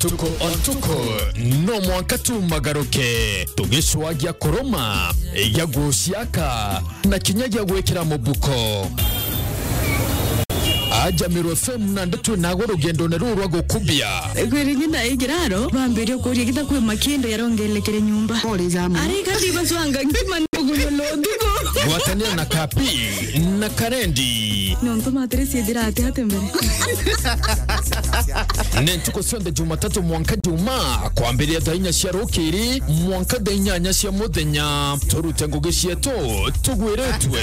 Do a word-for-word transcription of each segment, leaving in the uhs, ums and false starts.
Tuko o ntuku, no mwanka tumagaruke, tugicwagia kuruma, gia guciaka, na kinya gia gwikira mubuko. Aja Meru F M na ndeto nago rugendone ruu rwa gukubia. Kwiri nyina igiraro, bambirie kuria gita kwi makindo yarongelekere nyumba. Pole jamu. Ari kati bacwanga ngima ni guyo lo ndugu. Gwatanira na Kapi na Karendi. Nontu matire ciethira ati ati mbere. Ni ntuku cionthe Jumatatu mwanka Juma, kwambiria thaa inya cia rukiri mwanka thaa inyanya cia muthenya. Turute ngugi cietu tugwiritwe.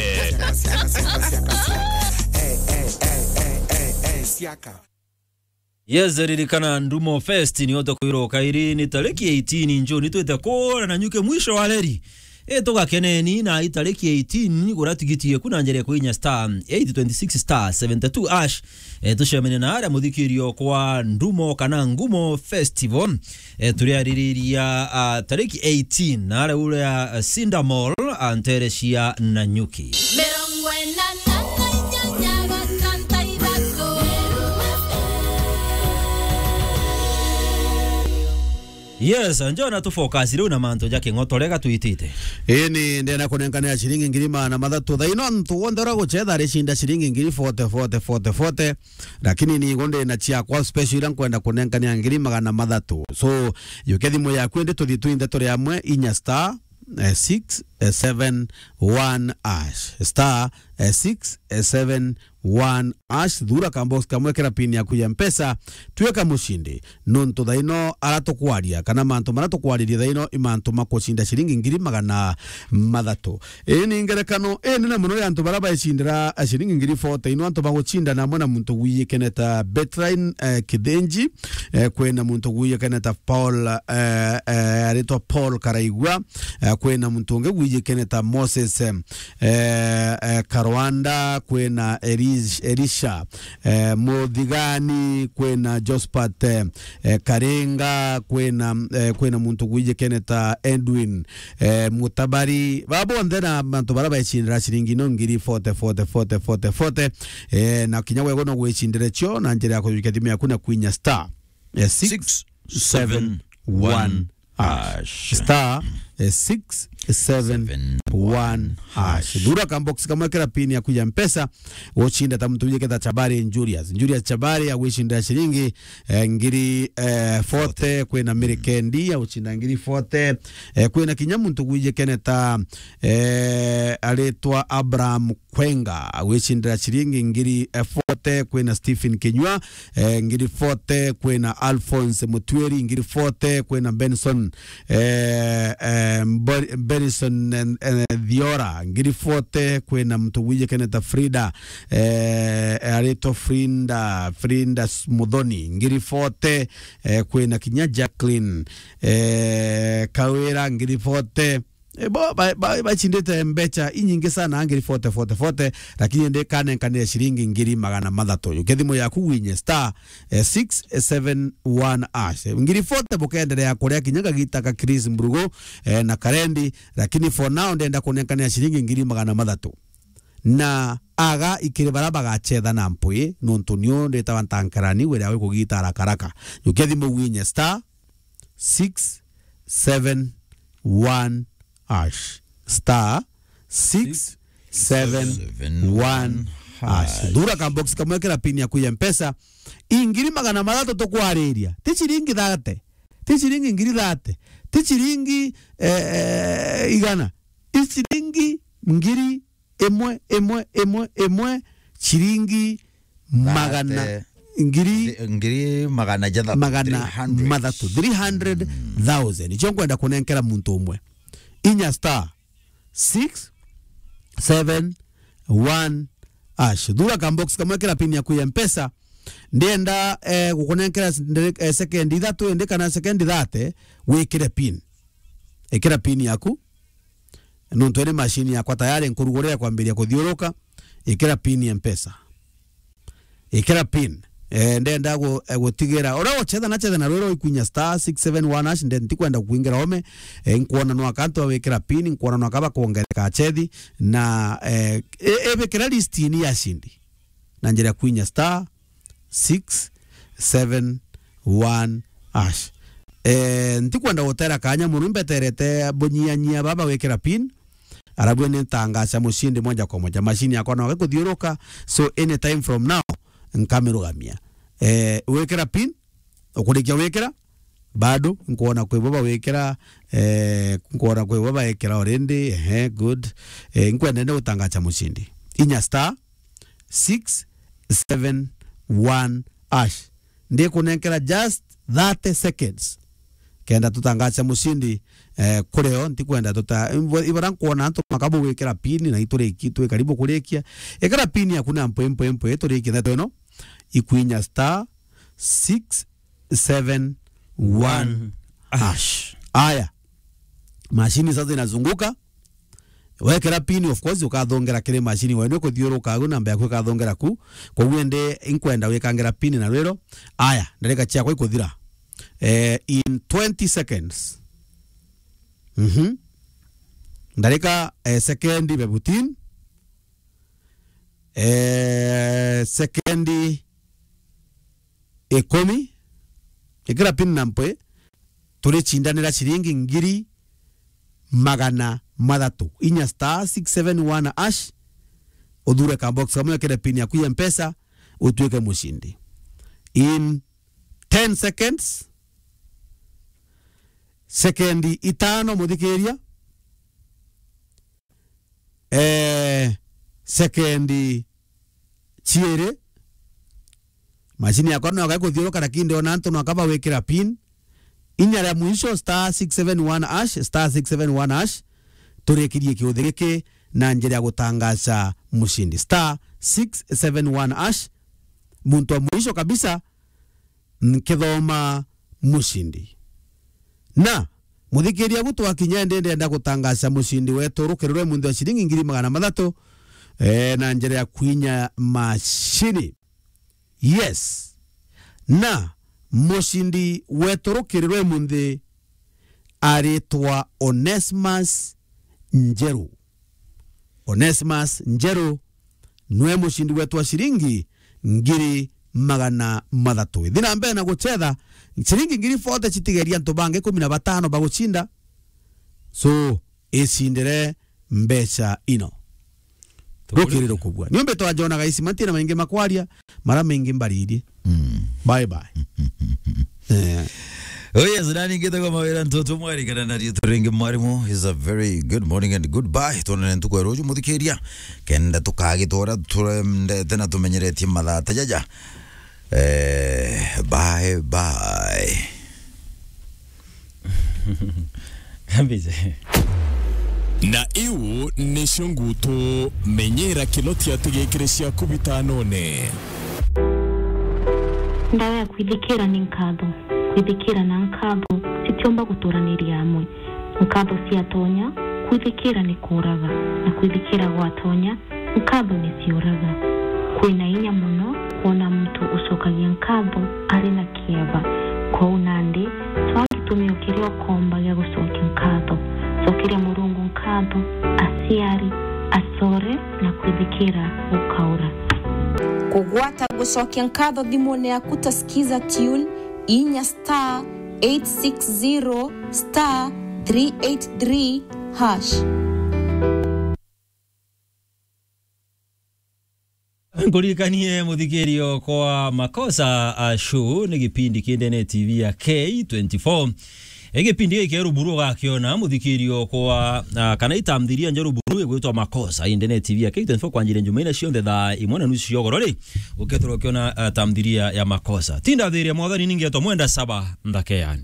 Yes, ririkana Ndumo Fest ni ote kwirwo kairi ni tariki eighteen June, twite kura na nyuke mwisho wa reri. E, tugakeneni na itariki eighteen, gura tigiti eku na njira ya kuinya star eight twenty six star seventy two hash. E, tucemene na aria muthikirio kwa Ndumo kana Ngumo Festival. E, turiaririria, ah, tariki eighteen na aria uria, ah, Cinda Mall, ah, ntere cia Nanyuki. Mirongo ina na inyanya gatanta ithatu. Yes, njona tu focus riu na mantu ja king'otore gatwitite. Ii, ni ndenda kunenkanira ciringi ngiri magana mathatu. Thaa ino antu wonthe uria gucetha aricinda ciringi ngiri forty, forty, forty, forty. Lakini ni igo ndina ciakwa special ira nkwenda kunenkanira ngiri magana mathatu. So, yukia thimu yaku indi tuthii twinthe turi amwe, inya star, eh, six seven one hash. Star, eh, six seven one hash. Thura ka box kamwe, kira pin yaku ya Mpesa, twika mucindi. Nontu thaa ino ara tukwaria, kana mantu mara tukwariria thaa ino, i mantu ma kucinda ciringi ngiri magana mathatu. Ii ni ngerekano inene mono ya antu bara baicindira ciringi ngiri forty. Ino antu bagucindana amwe na muntu gwijikene ta Betline, eh, Kithinji, eh, kwina muntu gwijikene ta Paul, eh, eh, aritwa Paul Karaigua, eh, kwina muntu ungi gwijikene ta Moses, eh, eh, eh, Karwanda, kwina Elish-, Elisha, eh, Muthigani, kwina Jospat, eh, eh, Karinga, kwina, eh, kwina muntu gwijikene ta Edwin, eh, Mutabari. Ba bonthe na mantu bara baicindira ciringi no ngiri forty, forty, forty, forty, forty. Eh, na kinya wego no gwicindire cio na njira ya kujukia thimu yaku na kwinya star, eh, six seven one hash. Star, eh, six seven one hash. Thura ka box kamwe, kira pin yaku ya Mpesa, ucinda ta muntu wijikene ta Chabari Julius. Julius Chabari agwicindira ciringi, eh, ngiri, eh, forty, kwina Mary Kendi agucinda ngiri forty, eh, kwina kinya muntu gwijikene ta, eh, aritwa Abraham Kwenga, agwicindira ciringi ngiri, eh, forty, kwina Stephen Kinyua, eh, ngiri forty, kwina Alphonse Mutwiri, ngiri forty, kwina Benson, eh, eh, Mbor-, Benson, eh, eh, Thiora, ngiri forty, kwina muntu gwijikene ta Frida, eh, aritwa Frinda, Frinda S-, Muthoni, ngiri forty, eh, kwina kinya Jacqueline, eh, Kawira, ngiri forty, E, bo, ba, ba, bacindite mbecha inyingi sana, ngiri forty, forty, forty, lakini ndi kanenkanire ciringi ngiri magana mathatu. Yukia thimu yaku winye star, eh, six seven one hash. Ngiri forty bukenderea kuria kinya kagita ka Chris Mbrugu, eh, na Karendi, lakini for now ndenda kunenkanira ciringi ngiri magana mathatu. Na aga ikiri bara bagachetha na mpwi, nontu nio nditawa ntankarani, wira wi kugita haraka haraka. Yukia thimu winye star, six seven one hash. Star six seven one hash. Thura ka box kamwe, kira pin yaku ya Mpesa. Ingiri magana mathatu tukwariria. Ti ciringi thate. Ti ciringi ngiri thate. Ti ciringi, eh, eh, igana. Ti ciringi ngiri imwe, imwe, imwe, imwe, ciringi magana, thate, ngiri, thi-, ngiri magana jathatu, magana three hundred. Mathatu, three hundred thousand. Mm. Icio nkwenda kunenkera muntu umwe. Inya star six seven one hash. Thura ka box kamwe, kira pin yaku ya Mpesa. Ndienda, eh, gukunenkera s-, ndere-, eh, second ithatu indi kana second thate, wikire pin. Ikira pin yaku. Nontu iri machine yakwa tayari nkurugurira kwambiria kuthiuruka, ikira pin ya Mpesa. Ikira pin. Eh, ndenda gu-, eh, gutigira. Uria uchetha na chetha na rwiro ikwinya star six seven one hash, nde-, ntikwenda kuingira ome. Eh, nkuona no akantu awikira pin, nkuona no akaba kuongereka achethi. Na, eh, e-, ebikira list ini ya cindi. Na njira ya kwinya star six seven one hash. Eh, ntikwenda gutera kanya mono, imbeterete bunyianyia baba wikira pin. Arabu ni ntangaca mucindi moja kwa moja. Machine yakwa no gikuthiuruka, so anytime from now, nkamirugamia. Eh, wikira pin, ukurikia wikira, bado, nkwona kwi bo bawikira, eh, nkwona kwi bo bawikira already, ehe, good. Eh, nkwenda nde gutangaca mucindi. Inya star six seven one hash. Ndikunenkera just thirty seconds. Kenda tutangace mucindi, eh, kuri o, ntikwenda tuta-, ibo-, ibara nkwona antu makabu gwikira pin na ituriki, twi karibu kurikia. Ikira pin yaku na mpwe, mpwe, mpwe, turikie ndeto ino. Ikwinya star six seven one hash. Aya. Mashini sasa inazunguka. Wekera pin, of course, ukathongera kiri mashini. Wenu kuthiuruka agu, namba yaku ikathongera ku. Koguo ende inkwenda wikangira pin na rwiro. Aya, ndarika ciakwa ikuthira. Eh, in twenty seconds. Mhm. Ndarika, eh, sekendi bebutin. Eh, sekendi ikumi. Ikira pin na mpwe, turicindanira ciringi ngiri magana mathatu. Inya star six seven one hash, uthure ka box kamwe, wekere pin yaku ya Mpesa, utuike mucindi. In ten seconds, sekendi itano, muthikiria, eh, sekendi ciiri. Mashini yakwa no yakwa ikuthiuruka, lakini ndiona antu no akaba wikira pin. Inya ria mwisho, star six seven one hash, star six seven one hash. Turikirie kiuthi giki na njira ya gutangaca mucindi. Star six seven one hash. Muntu wa mwisho kabisa, nkithoma mucindi. Na, muthikiria, gu twakinya, ndi ndenda gutangaca mucindi wetu rukiri rwe munthi wa ciringi ngiri magana mathatu, eh, na njira ya kwinya mashini. Yes. Na, mucindi wetu rukiri rwe munthi aritwa Onesmus Njeru. Onesmus Njeru nwe mucindi wetu wa ciringi ngiri magana mathatu. Ithi na mbere na gucetha, ciringi ngiri forty citigeria antu bangi ikumi na batano bagucinda. So, icindire mbeca ino. Rukiri rukubua. Niumbe twajonaga ici, matina maingi makwaria, mara maingi mbariri. Mm. Bye bye. Eh. Oh yes, nani ngitagwa Mawira Ntoto Mwari, kana na rietu ringi mwarimu. Is a very good morning and goodbye. Tuonane ntuku ya ruju, muthikiria. Kenda tukagitora turendete na tumenyeretie mathaa ta jaja. Eh, bye bye. Kabisa. Na iu nicio ngutu, menyera kinotia tigikire ciaku bitanone. Ndawa ya kwithikira ni nkatho. Kwithikira na nkatho citiumba guturaniria amwe. Nkatho ciatonya, kwithikira ni kuuraga, na kwithikira gwatonya, nkatho ni ciuraga. Kwina inya mono kwona muntu ucokagia nkatho ari na kieba. Kwou nandi, twaa gitumio kiria ukomba gia gucokia nkatho. Cokeria Murungu nkatho, aciari, acore, na kwithikira gukaura. Kugwata gucokia nkatho thimune yaku ta Skiza Tune, inya star eight six zero star three eight three hash. Nkuririkanie muthikirio kwa Makosa a Show ni gipindi ki ndene T V ya K twenty-four. Igipindi giki ruburu ugakiona muthikirio kwa, ah, kana itamthiria njeru buru igwitwa Makosa i ndene T V ya K twenty-four kwanjire Jumaine cionthe thaa imwe na nusu cia ugoro ri, ukethirwa ukiona, ah, tamthiria ya Makosa. Tinda thiria mwathani ningetwa Mwenda Saba Nthakeani.